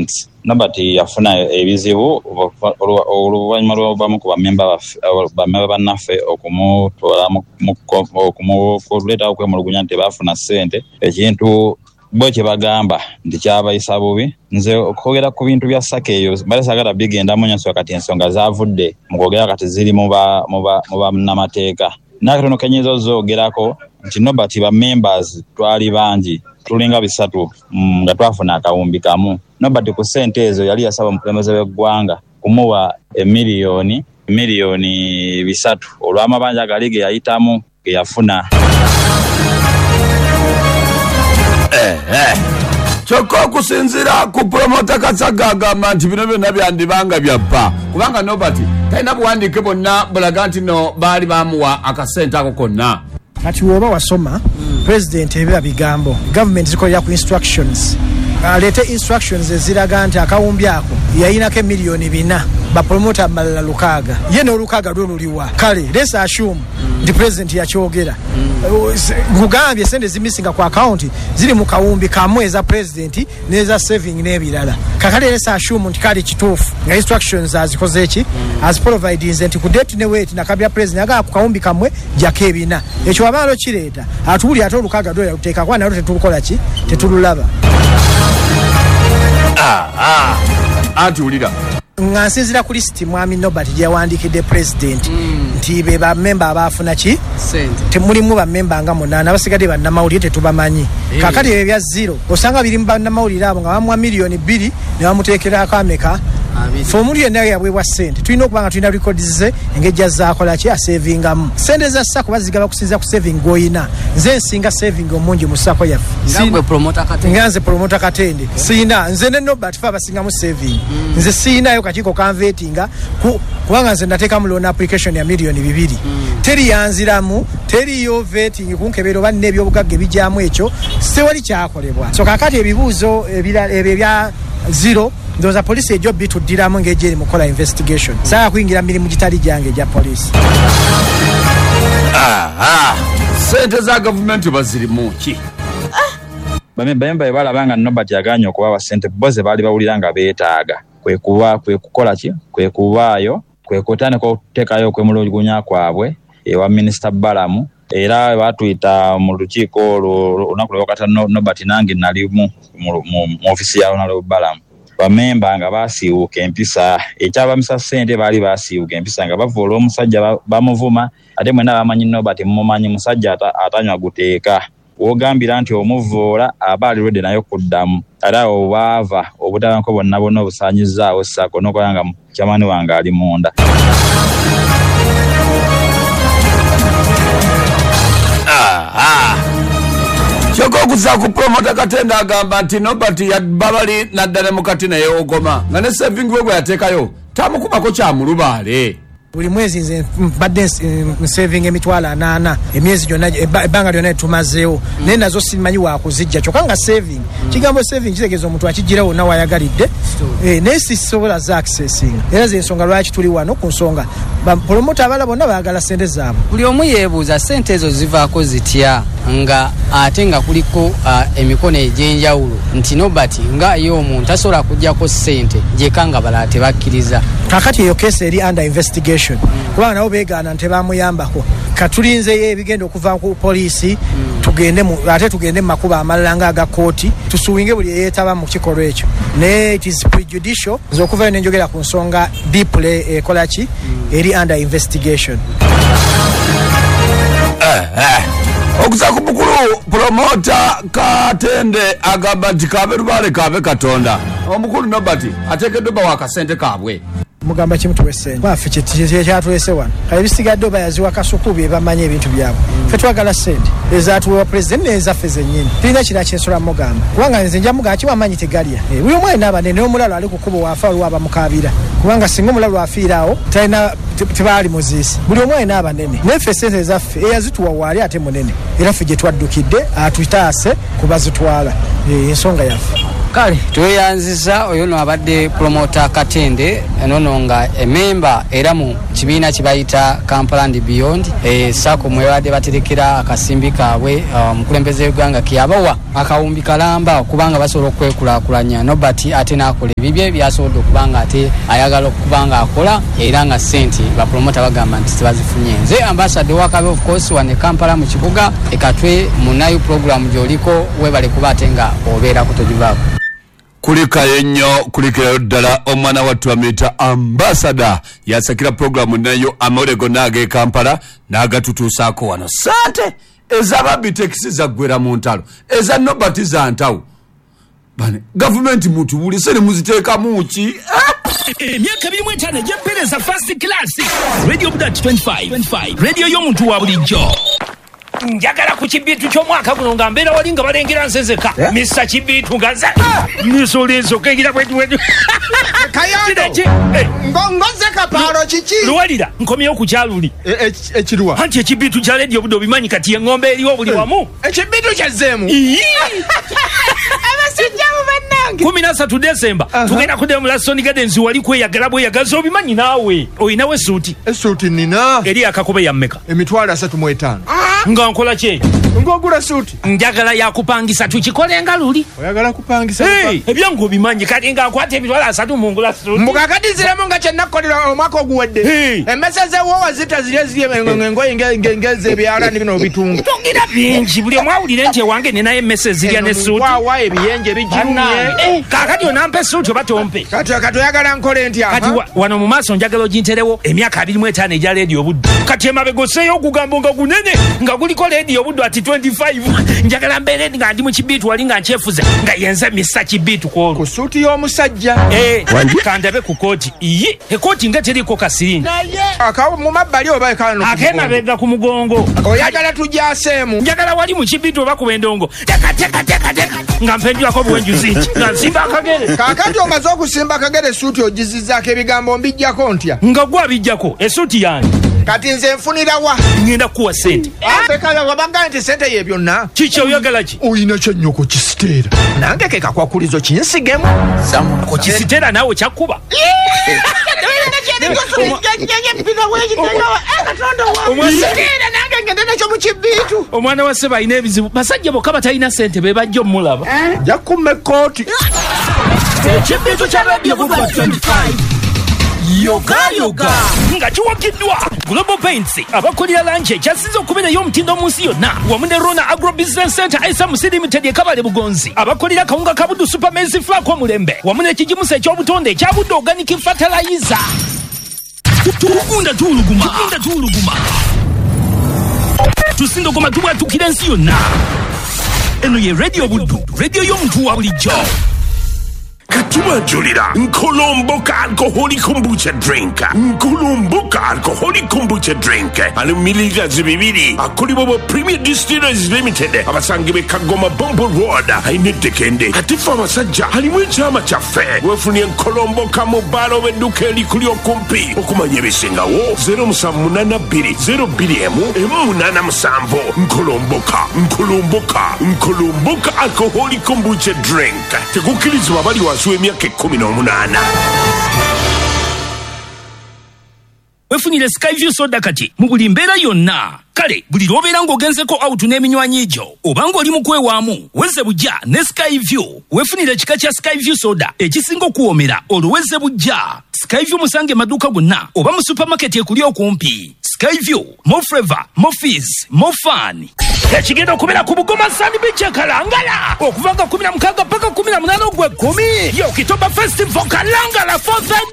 events. Nobert yafuna ebizibu oluvannyuma lw'obamu ku bamemba bannaffe okumutwala okuleetawo okwemulugunya nti tebaafuna ssente, ekintu bo kye bagamba nti kyabayisa bubi. Nze okwogera ku bintu bya SACCO eyo mbadde saagala bigendamu nnyo, kati ensonga zaavudde mu kwogera kati ziri mu bannamateeka. N'akatono ke nnyinza ozoogerako nti Nobert ba members twali bangi, tulinga 3 nga twafuna akawumbi kamu. Nobert ku ssente ezo yali yasaba omukulembeze w'eggwanga kumuwa emiliyoni 3 olw'amabanja gali ge yayitamu ge yafuna. Kyokka okusinziira ku Promota Kasagga agamba nti bino byonna byandibanga byabba, kubanga Nobert talina buwandiike bwonna bulaga nti no baali bamuwa akasente ako konna. Kati woba wasoma president ebiba bigambo, government zikolera ku instructions, aleete instructions eziraga nti akawumbi ako yayinako emiliyoni 4, bapromota amalala 6, ye n'olukaaga lwo luliwa. Kale let's assume nti president yakyogera. Nkugambye sente zimisinga ku account ziri mu kawumbi kamwe eza president n'eza saving n'ebirala. Kakale let's assume nti kale kituufu nga instructions azikoze eki aziprovidinze nti ku date ne wait nakabya president aga ku kawumbi kamwe jako ebina. Ekyo abaalo kireeta atuwuli ate olukaaga lwo yaluteeka kuba nalwo tetulukola ki, tetululaba. Anti wulira nga nsinziira ku lisiti mwami Nobert gye yawandiikidde president nti be bammemba abaafuna ki temulimu bammemba nga 8, abasigadde bannamawulire tetubamanyi. Kaakati ebyo ebya 0 osanga biri mu bannamawulire abo nga bamuwa miliyoni 2 ne bamuteekerako ameka. Ffe omuntu yenna yaweebwa ssente tulina okuba nga tulina records ze engeri gy'azaakola ki asevingamu. Ssente za SACCO bazigaba kusinziira ku saving gw'olina. Nze nsinga saving omungi mu SACCO yaffe. Nga nze Promota Katende. Siyina, nze ne Nobert ffe abasingamu saving. Nze siyinayo kakiiko kanvetinga kubanga nze nateekamu loan application ya miliyoni 2. Teri yanziramu, teriyo vetting kunkebera oba nina ebyobugagga ebijyamu ekyo, sewali kyakolebwa. So kaakati ebibuuzo ebyo ebya 0 ndowooza poliisi ejja obituddiramu ng'ejja eri mu kukola investigation. Saagala kuyingira mu mirimu gitali gyange egya poliisi. Ssente za gavumenti bazirimu ki? Bamemba bwe balaba nga Nobert yagaanye okubawa ssente bo ze baali bawulira nga beetaaga, kwe kukola ki, kwe kubaayo, kwe kutandika okuteekayo okwemulugunya kwabwe ewa Minisita Balamu. Era baatuyita mu lukiiko olwo olunaku lwe bakata Nobert nange nalimu mu ofiisi ya Honorable Balamu. Bamemba nga baasiiwuuka empisa, ekyabamisa ssente baali baasiiwuuka empisa nga bava olw'omusajja bamuvuma, ate mwenna bamanyi Nobert mumumanyi musajja atanywa guteeka. Wogambira nti omuvoola aba ali ready naye okuddamu. Ate awo baava obutabanguko bwonna bwonna obusaanyizaawo SACCO n'okuba nga chairman wange ali munda. Kyokka okuza ku Promota Katende agamba nti Nobert yabba bali n'adda ne mukati naye ogoma nga ne saving we gwe yateekayo tamukubako kyamulubaale. Buli mwezi nze mbadde nsavinga emitwalo 80 emyezi gyonna, ebbanga lyonna tumazeewo, naye nazo simanyi wakuzijja. Kyokka nga saving, kigambo saving kitegeeza omuntu akijjira wonna w'ayagalidde, naye sisobola za accessing. Era ze ensonga lwaki tuli wano ku nsonga bapromota abalala bonna baagala ssente zaabwe. Buli omu yeebuuza ssente ezo zivaako zitya nga ate nga kuliko emikono egy'enjawulo nti Nobert nga ye omuntu tasobola kuggyako ssente gyeka nga balala tebakkiriza. Kaakati eyo case eri under investigation kubanga nabo beegaana nti tebamuyambako. Katulinzeyo ebigenda okuva ku poliisi, tugende ate tugende mu makubo amalala nga aga kkooti, tusuwinge buli eyeetaba mu kikolwa ekyo. Naye it is prejudicial nze okuvayo ne njogera ku nsonga deeply ekola ki eri under investigation. Okuza ku mukulu Promota Katende agamba nti kabe lubaale kabe Katonda, omukulu Nobert ateekeddwa bawa akasente kaabwe. Mugamba kimu, tuwe ssente baffe kyatulese wano. Kale ebisigadde oba yaziwa Kasuku bye bamanyi ebintu byabwe. Ffe twagala ssente ezatuwewa pulezidenti n'ezaffe zennyini. Tulina kira kyensobola mugamba, kubanga nze nja mugamba kiwa amaanyi tegalya. Buli omu alina abanene, n'omulalu ali ku kkubo waafa waliwo abamukaabira, kubanga singa omulalu afiira awo talina tebaali muziisi. Buli omu alina abanene, naye ffe ssente ezaffe eyazituwa waali ate munene, era ffe gye twaddukidde atutaase kubazitwala. Ensonga yaffe. Kale tweyanziza oyo no abadde promoter Katende enono nga ememba era mu kibiina kibayita Kampala and Beyond, sako mwebadde baterekera akasimbi kaabwe. Omukulembeze w'eggwanga keyabawa akawumbi kalamba okubanga basobola okwekulaakulanya. Nobert ate n'akola ebibye byasobodde okubanga ate ayagala okubanga akola, era nga ssente bapromota bagamba nti tebazifunye. Nze ambassador wakabe of course wane Kampala mu kibuga ekatwe munayo program gy'oliko, webale kuba ate nga obeerako togivaako. Kulikayo nnyo, kulikirayo ddala omwana wattu amuyita ambasada yasakira puroguramu nayo amawulire gonna ag'e Kampala n'agatutuusaako wano. Sente ez'ababitekisi zaggwera mu ntalo, eza Nobert za ntawo. Bane gavumenti mutubuulise ne muziteekamu ki? Emyaka 25 egy'empeereza first class Radio Budat 25 radio y'omuntu wa bulijjo. Njagala ku kibiitu ky'omwaka guno nga mbeera wali nga balengera nzezeka misa kibiitu nga nze nisulizo kegira bwetu Kayondo ngoze kapaalo kiki luwalira nkomyewo ku kyaluli ekiruwa anti ekibiitu kya Radio Buddo obimanyi kati eng'ombe eriwo buli wamu ekibiitu kyazzeemu abasajja abo bannange 13 Desemba tugenda kuddayo mu Laston Gardens wali kweyagala bweyagaza obimanyi naawe oyinawo essuuti. Essuuti nina eri akakobe ya mmeka? 35,000. Nga nkola ki? Ng'ogula suuti. Njagala yakupangisa tukikole nga luli. Oyagala kupangisa? Ebyangu obimanyi kati nga nkwata 30,000 mungula suuti. Mbuga kati ziremu nga kye nakkolera omwaka oguwedde. Emmese z'ewoowa zita ziri eziri engoye ngeze ebyalaani bino obitunga. Togira bingi buli omu awulire nti ewange ninayo emmese ezirya ne suuti. Waawa ebiyenje bijirumye. Kaakati onampa essuuti oba tompe? Kati oyagala nkole ntya? Kati wano mu maaso njagala oginterewo emyaka 25 egya Radio Buddo. Kati emabega osseeyo ogugambo nga gunene nga guliko Radio Buddo ati 25. Njagala mbeere nga ndi mu kibiitu wali nga nkyefuze nga yenze misa kibiitu kwolwo. Ku suuti y'omusajja. Kandabe ku kooti. Iye, ekooti nga teriko kasiringi. Akawo mu mabbali oba ekano ku mugongo? Ak'emabega ku mugongo. Oyagala tujaseemu? Njagala wali mu kibiitu oba ku endongo. Teka teka teka teka nga mpenjulako obuwenjuzi nti nga nsimba akagere. Kaakati omaze okusimba akagere essuuti ogizizzaako ebigambo mbijjako ntya? Nga gwe abijjako essuuti yange. Kati nze nfunira wa? Ngenda kukuwa ssente. Kale wabagamba nti ssente ye byonna. Kiki oyagala ki? Oyina kyennyoko kisiteera. Nange ke kakwakulizo kinsigemu. Ku kisiteera naawe kyakkuba. Omwana wa ssebo alina ebizibu. Basajja bokka batalina ssente be bajja omulaba. Nja kumma ekkooti. Ekibiitu kya Radio Buddo 25. Yoga yoga nga kiwagiddwa Global Paints abakolera langi ekyasinze okubeerayo omutindo mu nsi yonna wamu ne Rona Agro Business Center SMC Limited e Kabale Bugonzi abakolera kawunga ka Buddu Super Maize Flour omulembe wamu n'ekigimusa eky'obutonde ekya Buddu Organic Fertilizer. Tugunda tuwuluguma tusindogoma tubwatukira ensi yonna. Eno ye Radio Buddu, radio y'omuntu wa bulijjo. Katubajulira Nkolomboka alcoholic kombucha drink. Nkolomboka alcoholic kombucha drink ali mililita 2 akolibwa bo Premier Distillers Limited abasangibwe Kagoma Bombo Road ainedekende atifa abasajja alimu ekyama kyaffe wefunye Nkolomboka mu bbaala oba edduka erikuli okumpi okumanya ebisingawo 0782 02 87 Nkolomboka Nkolomboka Nkolomboka alcoholic kombucha drink tekukkirizibwa bali wansi w'emyaka 18. Wefunire Skyview soda kati mu buli mbeera yonna. Kale buli lw'obeera ng'ogenzeko out n'eminywanyi gyo oba ng'oli mu kwewaamu weze bujja ne Skyview. Wefunire ekika kya Skyview soda ekisinga okuwoomera olwo weze bujja. Skyview musange maduuka gonna oba mu supermarket ekuli okumpi. Skyview, more flavor, more fizz, more fun. Ekigenda okubeera ku Bugoma Sand Beach e Kalangala okuva nga 16 paka 18 ogw'ekkumi. Ye Okitoba Festival Kalangala 4th edition.